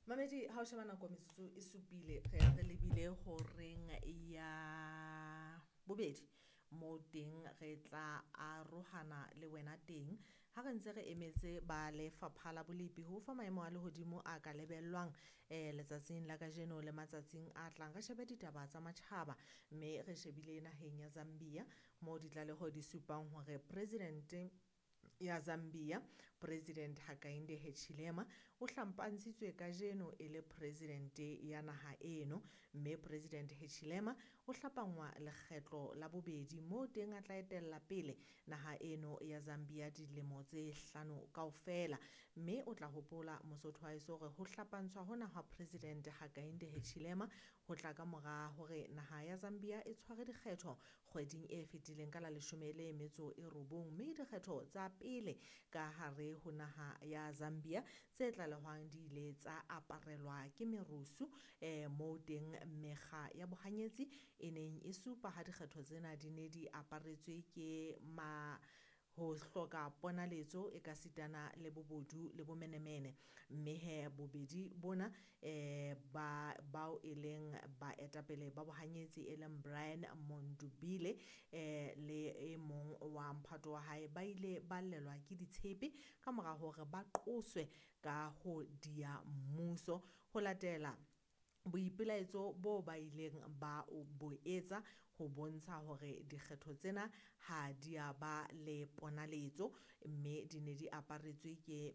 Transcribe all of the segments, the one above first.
Mamedi, ha o sheba nako metsotso e supile re ya re lebile horeng ya bobedi moo teng re tla arohana le wena teng ha re ntse re emetse ba lefapha la bolepi ho fa maemo a lehodimo a ka lebellwang letsatsing la kajeno le matsatsing a tlang. Re shebe ditaba tsa matjhaba, mme re shebile naheng ya Zambia moo ditlaleho di supang hore presidente ya Zambia, President Hakainde Hichilema, o hlampantshitswe kajeno e le presidente ya naha eno, mme President Hichilema o hlapangwa lekgetlo la bobedi moo teng a tla etella pele naha eno ya Zambia dilemo tse hlano kaofela. Mme o tla hopola Mosotho wa heso hore ho hlapantshwa hona hwa President Hakainde Hichilema ho tla ka mora hore naha ya Zambia e tshware dikgetho kgweding e fetileng ka la 19, mme dikgetho tsa pele ka hare ho naha ya Zambia tse tlalehwang di ile tsa aparelwa ke merusu moo teng mekga ya bohanyetsi e neng e supa ha dikgetho tsena di ne di aparetswe ke ma ho hloka ponaletso e ka sitana le bobodu le bomenemene. Mme he bobedi bona ba bao e leng baetapele ba bohanyetsi e leng Brian Mundubile le e mong wa mphato wa hae ba ile ba llelwa ke ditshepe ka mora hore ba qoswe ka ho dia mmuso ho latela boipelaetso bo ba ileng ba bo etsa ho bontsha hore dikgetho tsena ha di a ba le ponaletso, mme di ne di aparetswe ke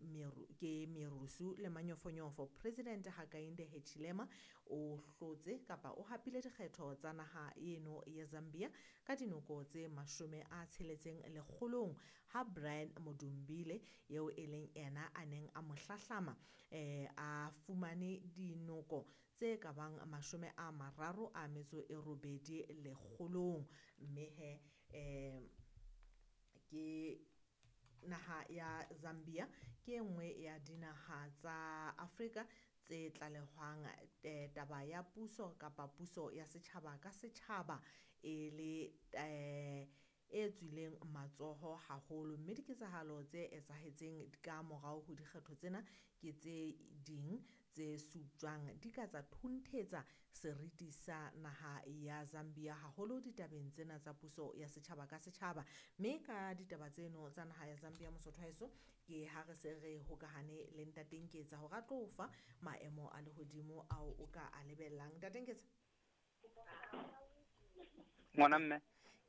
merusu le manyofonyofo. President Hakainde Hichilema o hlotse kapa o hapile dikgetho tsa naha eno ya Zambia ka dinoko tse 60 lekgolong, ha Brian Mudumbile eo e leng ena a neng a mo hlahlama a fumane dinoko tse ka bang 38 lekgolong. Mme he ke naha ya Zambia ke e nngwe ya dinaha tsa Afrika tse tlalehwang taba ya puso kapa puso ya setjhaba ka setjhaba e le e tswileng matsoho haholo, mme diketsahalo tse etsahetseng ka morao ho dikgetho tsena ke tse ding tse supjwang di ka tsa thunthetsa seriti sa naha ya Zambia haholo ditabeng tsena tsa puso ya setjhaba ka setjhaba. Mme ka ditaba tseno tsa naha ya Zambia, Mosotho wa heso, ke ha re se re hokahane le Ntate Nketsa hore a tlo fa maemo a lehodimo ao o ka a lebellang. Ntate Nketsa, ngwana mme,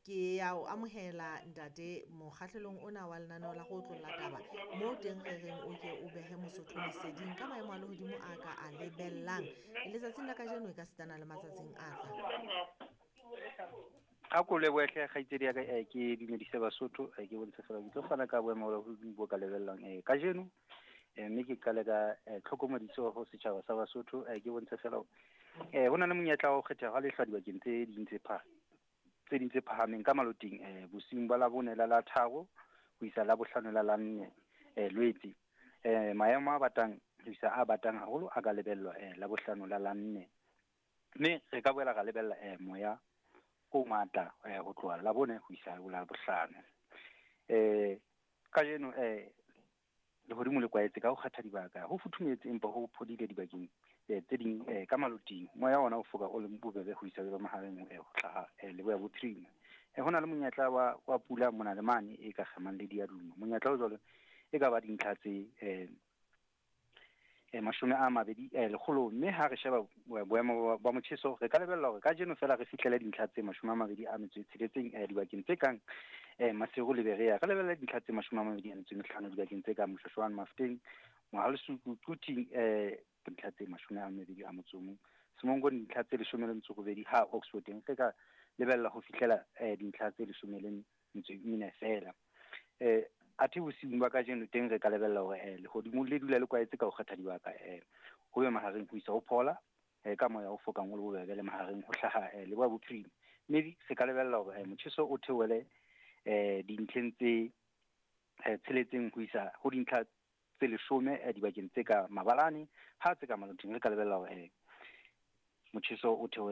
ke ya o amohela ntate mokgahlelong ona wa lenaneo la go otlolla taba moo teng re reng o ke o behe Mosotho leseding ka maemo a lehodimo a ka a lebellang letsatsing la kajeno e ka sitana le matsatsing a tlang. A ko lebohe kgaitsedi ya ka, ke dumedise Basotho, ke bontshe fela ke tlo fana ka boemo ba lehodimo bo ka lebellang kajeno, mme ke qale ka tlhokomediso ho setjhaba sa Basotho. Ke bontshe fela ho na le monyetla wa ho kgetha ha lehlwa dibakeng tse ding tse phahameng ka maloting bosiung ba Labone la la 3 ho isa la 5 la la 4 Lwetse. Maemo a batang ho isa a batang haholo a ka lebellwa la 5 la la 4, mme re ka boela ra lebella moya o matla ho tloha la 4 ho isa la 5. Kajeno lehodimo le kwaetse ka ho kgetha dibaka, ho futhumetse empa ho phodile dibakeng tse ding ka maloting. Moya ona o foka o le bobebe ho isa le mahareng ho hlaha leboya bophirima. Ho na le monyetla wa pula mona le mane e ka kgemang le diaduma. Monyetla o jwalo e ka ba dintlha tse 20 lekgolong, mme ha re sheba boemo ba motjheso re ka lebella hore kajeno fela re fihlele dintlha tse 26 dibakeng tse kang Maseru le Berea. Re lebella dintlha tse 25 dibakeng tse kang Moshoshwane, Mafeteng, Mohalesuku, Quthing, dintlha tse 21, Semonkong dintlha tse 18, ha Oxford teng re ka lebella ho fihlela dintlha tse 14 fela. Athe bosiung ba kajeno teng re ka lebella hore lehodimo le dula le kwaetse ka ho kgetha dibaka, ho be mahareng ho isa ho phola ka moya o fokang o le bobebe le mahareng ho hlaha leboya bophirima. Mme re ka lebella hore motjheso o theohele dintlheng tse 6 ho isa ho dintlha tse 10 dibakeng tse ka mabalane, ha tse ka maloting re ka lebella hore motjheso o theohele